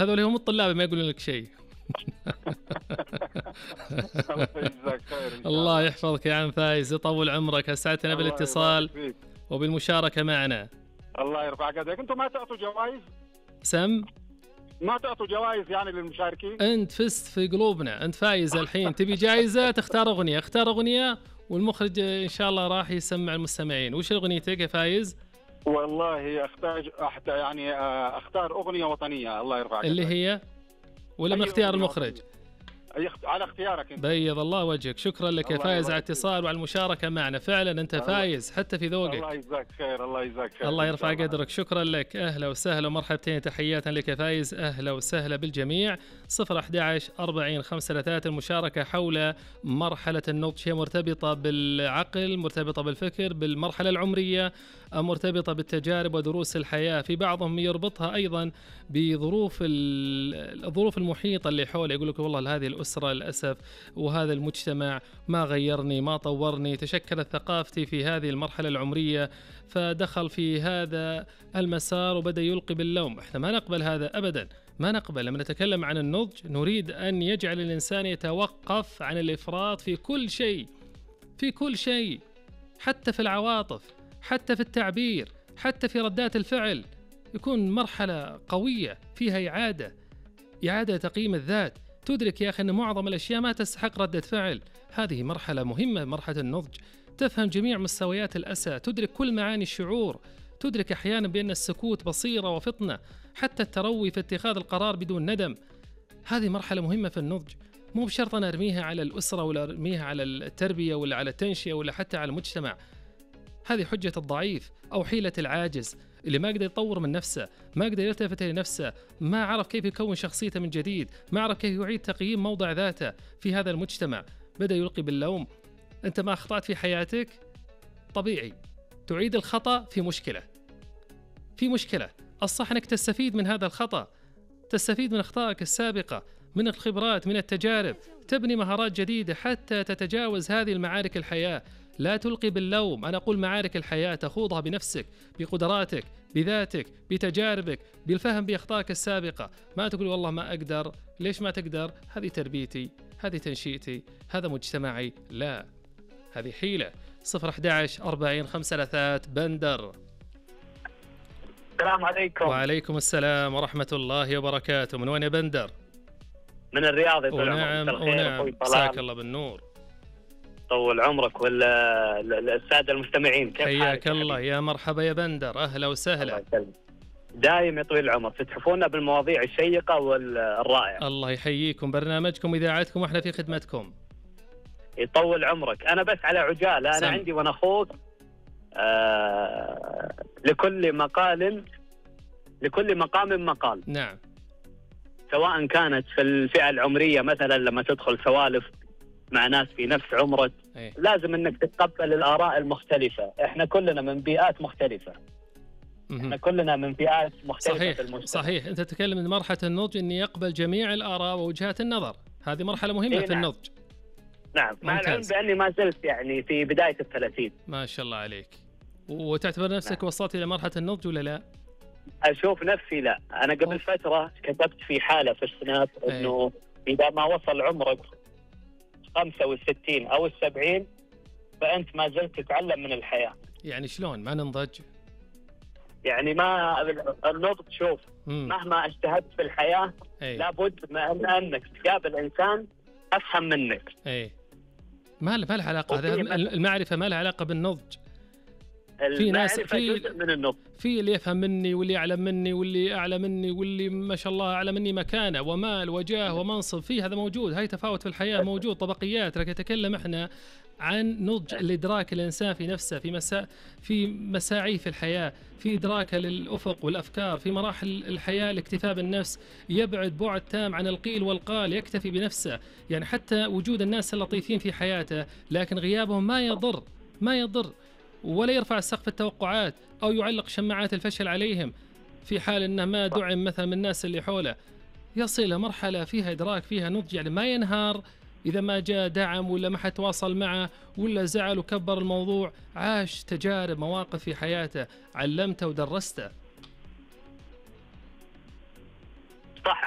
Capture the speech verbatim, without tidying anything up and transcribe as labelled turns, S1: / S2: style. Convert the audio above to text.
S1: هذول هم الطلاب ما يقولون لك شيء.
S2: الله يجزاك خير إن شاء
S1: الله
S2: الله.
S1: يحفظك يا عم فايز، يطول عمرك، أسعدتنا
S2: الله
S1: بالاتصال
S2: يبارك فيك.
S1: وبالمشاركة معنا.
S2: الله يرفع قدرك. انتم ما تعطوا جوائز؟
S1: سم
S2: ما تعطوا جوائز يعني للمشاركين؟
S1: أنت فزت في قلوبنا، أنت فايز الحين. تبي جائزة؟ تختار أغنية، اختار أغنية والمخرج إن شاء الله راح يسمع المستمعين. وش أغنيتك يا فايز؟
S2: والله اختار أحت... يعني آه، اختار اغنيه وطنيه. الله يرفع قدرك.
S1: اللي هي ولا من
S2: أي
S1: اختيار
S2: أغنية
S1: المخرج؟
S2: وطنية. أي اخت... على اختيارك انت.
S1: بيض الله وجهك، شكرا لك يا
S2: الله
S1: فايز على
S2: يبارك فيك.
S1: الاتصال وعلى المشاركة معنا. فعلا أنت
S2: الله-
S1: فايز حتى في ذوقك.
S2: الله يجزاك خير. الله يجزاك خير.
S1: الله
S2: إن
S1: يرفع
S2: شاء الله.
S1: قدرك، شكرا لك. أهلا وسهلا ومرحبتين، تحيات لك يا فايز، أهلا وسهلا بالجميع. صفر أحد عشر أربعين خمسة ثلاثة المشاركة حول مرحلة النضج، هي مرتبطة بالعقل، مرتبطة بالفكر، بالمرحلة العمرية، مرتبطة بالتجارب ودروس الحياة. في بعضهم يربطها أيضا بظروف ال- الظروف المحيطة اللي حوله، يقول لك والله هذه الأسرة للأسف وهذا المجتمع ما غيرني ما طورني، تشكلت ثقافتي في هذه المرحلة العمرية فدخل في هذا المسار وبدأ يلقي باللوم. احنا ما نقبل هذا أبدا، ما نقبل. لما نتكلم عن النضج نريد أن يجعل الإنسان يتوقف عن الإفراط في كل شيء، في كل شيء، حتى في العواطف، حتى في التعبير، حتى في ردات الفعل. يكون مرحلة قوية فيها إعادة إعادة تقييم الذات، تدرك يا أخي أن معظم الأشياء ما تستحق ردة فعل. هذه مرحلة مهمة، مرحلة النضج. تفهم جميع مستويات الأسى، تدرك كل معاني الشعور، تدرك أحيانا بأن السكوت بصيرة وفطنة، حتى التروي في اتخاذ القرار بدون ندم. هذه مرحلة مهمة في النضج. مو بشرط أنا أرميها على الأسرة ولا أرميها على التربية ولا على التنشئة ولا حتى على المجتمع. هذه حجة الضعيف أو حيلة العاجز اللي ما قدر يطور من نفسه، ما قدر يلتفت لنفسه، ما عرف كيف يكون شخصيته من جديد، ما عرف كيف يعيد تقييم موضع ذاته في هذا المجتمع. بدأ يلقي باللوم. أنت ما أخطأت في حياتك؟ طبيعي تعيد الخطأ في مشكلة، في مشكلة. الصح أنك تستفيد من هذا الخطأ، تستفيد من أخطائك السابقة، من الخبرات، من التجارب، تبني مهارات جديدة حتى تتجاوز هذه المعارك الحياة. لا تلقي باللوم. أنا أقول معارك الحياة تخوضها بنفسك، بقدراتك، بذاتك، بتجاربك، بالفهم بأخطائك السابقة. ما تقول والله ما أقدر. ليش ما تقدر؟ هذه تربيتي، هذه تنشئتي، هذا مجتمعي. لا، هذه حيلة. صفر أحد عشر أربعين خمسة ثلاثات بندر.
S3: السلام عليكم.
S1: وعليكم السلام ورحمة الله وبركاته. من وين يا بندر؟
S3: من الرياض. يطول
S1: ونعم
S3: عمرك. الخير
S1: ونعم،
S3: أخوي
S1: مساك
S3: طلال.
S1: الله بالنور.
S3: طول عمرك والسادة المستمعين. كيف
S1: حياك
S3: حالك يا
S1: الله،
S3: حبيبي؟
S1: يا مرحبا يا بندر، أهلا
S3: الله
S1: وسهلا.
S3: يسلمك. دايم يطول العمر، تتحفونا بالمواضيع الشيقة والرائعة.
S1: الله يحييكم، برنامجكم إذاعتكم وإحنا في خدمتكم.
S3: يطول عمرك. أنا بس على عجالة، أنا
S1: سم.
S3: عندي وأنا أخوك آه لكل مقال لكل مقام مقال.
S1: نعم.
S3: سواء كانت في الفئة العمرية، مثلا لما تدخل سوالف مع ناس في نفس عمرك،
S1: أي.
S3: لازم انك تتقبل الآراء المختلفة. احنا كلنا من بيئات مختلفة، احنا
S1: مهم.
S3: كلنا من فئات مختلفة
S1: صحيح
S3: في المجتمع.
S1: صحيح. أنت تتكلم من مرحلة النضج أن يقبل جميع الآراء ووجهات النظر. هذه مرحلة مهمة
S3: إيه
S1: في
S3: نعم.
S1: النضج.
S3: نعم، مع العلم
S1: ممتاز.
S3: بأني ما زلت يعني في بداية الثلاثين.
S1: ما شاء الله عليك. وتعتبر نفسك
S3: نعم.
S1: وصلت إلى مرحلة النضج ولا لا؟
S3: أشوف نفسي لا. أنا قبل
S1: أوف.
S3: فترة كتبت في حالة في السناب إنه إذا ما وصل عمرك خمسة وستين أو السبعين فأنت ما زلت تتعلم من الحياة.
S1: يعني شلون ما ننضج؟
S3: يعني ما النضج، شوف،
S1: مم.
S3: مهما اجتهدت في الحياة
S1: أي.
S3: لابد من أنك تقابل إنسان أفهم منك.
S1: أي. ما له ما له علاقة. هذا
S3: وفي مثل-
S1: المعرفة ما لها علاقة بالنضج. في ناس-
S3: المعرفة
S1: في-
S3: جزء من النضج.
S1: في اللي يفهم مني واللي يعلم مني واللي أعلى مني واللي ما شاء الله أعلى مني مكانة ومال وجاه ومنصب. في هذا موجود، هاي تفاوت في الحياة موجود، طبقيات. لكن نتكلم إحنا عن نضج الإدراك الإنسان في نفسه، في مسا في مساعيه في الحياة، في إدراكه للأفق والأفكار، في مراحل الحياة الاكتفاء بالنفس، يبعد بعد تام عن القيل والقال، يكتفي بنفسه. يعني حتى وجود الناس اللطيفين في حياته لكن غيابهم ما يضر، ما يضر، ولا يرفع سقف التوقعات أو يعلق شماعات الفشل عليهم في حال أنه ما دعم مثلا من الناس اللي حوله. يصل إلى مرحلة فيها إدراك، فيها نضج، يعني ما ينهار إذا ما جاء دعم ولا ما حد تواصل معه ولا زعل وكبر الموضوع. عاش تجارب، مواقف في حياته، علمته ودرسته.
S3: صح